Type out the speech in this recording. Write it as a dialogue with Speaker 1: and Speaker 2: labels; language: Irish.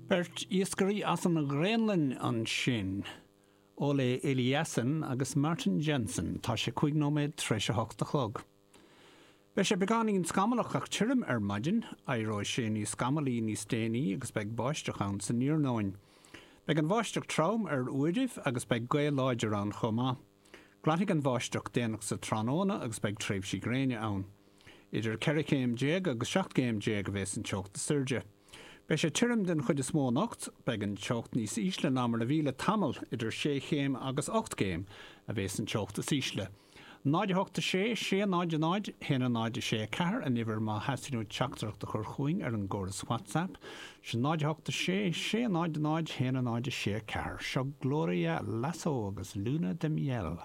Speaker 1: Beirt iascairí as an Ghraonlainn ansin, Ole Eliassen agus Martin Jensen. Tá sé 5 nóiméad tar éis a hocht a chlog. Beidh sé beagáinín scamallach ach tirim ar maidin, éireoidh sé níos scamallaí níos déanaí agus beidh báisteach ann san iarnóin. Beidh an bháisteach trom ar uairibh agus beidh gaoth láidir ann chomh maith. Glanfaidh an bháisteach déanach sa tráthnóna agus beidh tréimhsí gréine ann. Idir 14 chéim agus 17 gcéim a bheas an teocht is airde. Beidh sé tirim den chuid is mó anocht. Beidh an teocht níos ísle ná mar a bhí le tamall, idir 6 chéim agus 8 gcéim a bheas an teocht is ísle. 0 8 6 6 0 0 1 0 6 4 an uimhir má theastaíonn uait teachtaireacht a chur chugainn ar an gcóras WhatsApp. Sin 0 8 6 6 0 0 1 0 6 4. Seo Gloria Lasso agus Luna de Miel.